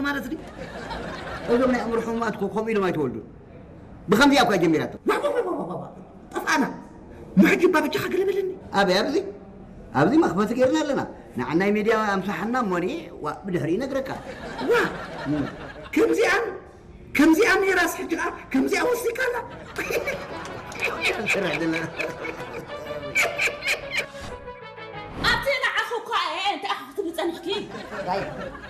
ማለት ድዩ? እዞም ናይ ኣእምሮ ሕሙማት እኮ ከምኡ ኢሎም ኣይተወልዱን። ብኸምዚኣ እኳ ጀሚራቶ። ዋ፣ ዋ፣ ዋ፣ ዋ፣ ዋ፣ ዋ። ጠፍኣና። ማ ሕጂ እባ በጃኻ ገለ በለኒ። ኣበይ ኣብዚ? ኣብዚ መኽፈቲ ጌርና ኣለና። ንዓናይ ሜድያ ኣምሳሓና እሞ እኔ ዋ ብድሕሪ ይነግረካ። ዋ፣ እም። ከምዚኣን ከምዚኣ ነይራስ ሕጂ ኸዓ ከምዚኣ ወሲካላ። ስራሕ ዘለና። ኣብቲ ንዓኺ እኳ እየ፣ እንታይ ኢኻ ክትብሊ ጸኒሕኪ? ዋይ፣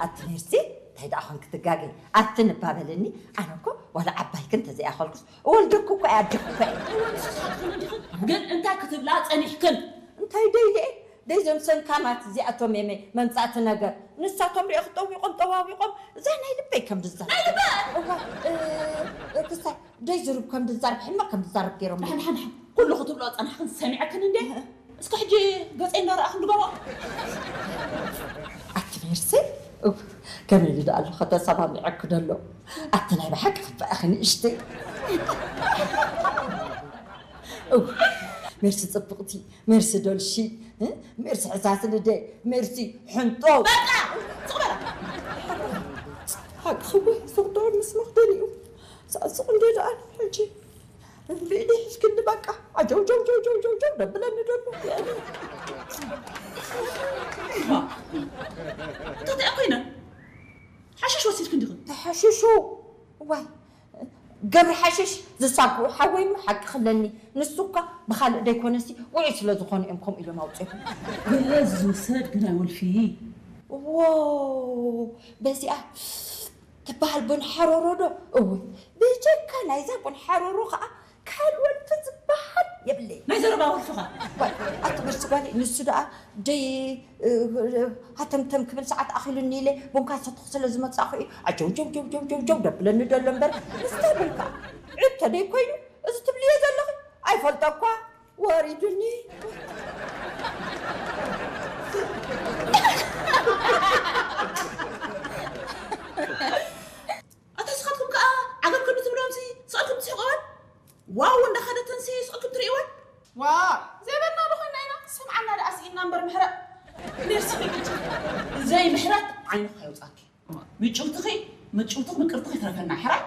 ኣቲ ሜርሲ፣ እንታይ ደኣ ኾንኪ ትጋገይ? ኣቲ ንባበለኒ፣ ኣነ እኮ ዋላ ዓባይኪ እንተዘይኣኸልኩስ፣ እወልደኪ እኮ እየ፣ ኣደኪ እኮ እየ። እወ፣ ንስኺ ትኾኒ ዲኺ? ግን እንታይ ክትብላ ጸኒሕክን? እንታይ ደይለ እየ? ደይ ዘም ሰንካማት እዚኣቶም እየ መ-፣ መምጻእቲ ነገር። ንሳቶም ሪኦ ክጠዊቖም ጠዋዊቖም፣ እዛ ናይ ልበይ ከም ድዛር። ናይ ልበ? እዋ፣ እ፣ እ፣ ክሳይ ደይ ዝሩብ ከም ድዛረብ፣ ሕማቕ ከም ድዛረብ ገይሮም። ንሓን፣ ንሓን፣ ንሓን። ኩሉ ክትብሎ ጸናሕክን ሰሚዐክን እንዴ? እስከ ሕጂ ገጸይ እንዳረኣኽን ድገሞ። ኣቲ ሜርሲ፣ እው፣ ከመይ ኢሉ ደኣ ኣሎ ከተሰማሚዐኪ ደሎ? ኣቲ ናይ ብሓቂ ክበኣኺ ንእሽተይ። እው፣ ሜርሲ ጽብቕቲ፣ ሜርሲ ዶልሺ፣ እ? ሜርሲ ሕሳስ ልደ፣ ሜርሲ ሕንጦ። በቃ! ስቕ በላ! ሓቂ ክቡ፣ ስቕ ዶ ምስ መኽደኒኡ። ሳእስቕ እንዴ ደኣ ሕጂ። ብኢደይ ሒዝክኒ በቃ። ዓጀው፣ ጀው፣ ጀው፣ ጀው፣ ጀው፣ ጀው፣ ደብለኒ ደሎ። እንታይ ኮይነ? ሓሽሽ ወሲድክ እንዲኹም? ተሓሽሹ። ዋይ፣ ገብሪ ሓሽሽ ዝሳግኡ ሓወይ እሞ ሓቂ ክለኒ። ንሱ እኳ ብኻልእ ደይኮነሲ ውዑይ ስለ ዝኾኑ እዮም ከምኡ ኢሎም ኣውፅኦም። ገለ ዝውሰድ ግን ኣይወልፊ። ዎ፣ በዚኣ ትበሃል ቡን ሓሮሮ ዶ? እወ፣ ብጀካ ናይዛ ቡን ሓሮሮ ኸዓ ካልእ ወልፊ ዝበሃል የብለይ። ናይ ዘረባ ወልፍኻ። ዋይ፣ ኣቲ በርሲ ጓለይ፣ ንሱ ደኣ ደይ፣ እ፣ ሃተምተም ክብል ሰዓት ኣኺሉኒ ኢለ ቡንካ ሰተኹ ስለ ዝመጻኹ እዩ። ኣጀው ጀው ጀው ጀው ጀው ጀው ደብለኒ ደሎ እምበር፣ ምስታይ ቡንካ ዕድ ተደይ ኮይኑ፣ እዚ ትብልዮ ዘለኺ ኣይፈልጦ እኳ ወሪዱኒ። ኣታ ንስኻትኩም ከኣ ዓገብ ክንዲ ትብሎምሲ ስቕልኩም ትስሕቑ እወን? ዋው እንዳኸደተንሲ ስቕልኩም ትርእይወን? ዋ፣ ዘይበልና ዶ ኮይና ኢና? ሰምዓና ደኣ ስኢንና እምበር ምሕረት። ሜርሲ በይግጭ። ዘይምሕረት ዓይንኻ የውጻኪ። ምጭውትኺ፣ ምጭውትኽ ምቅርትኽ ይትረፈና፣ ሕራይ?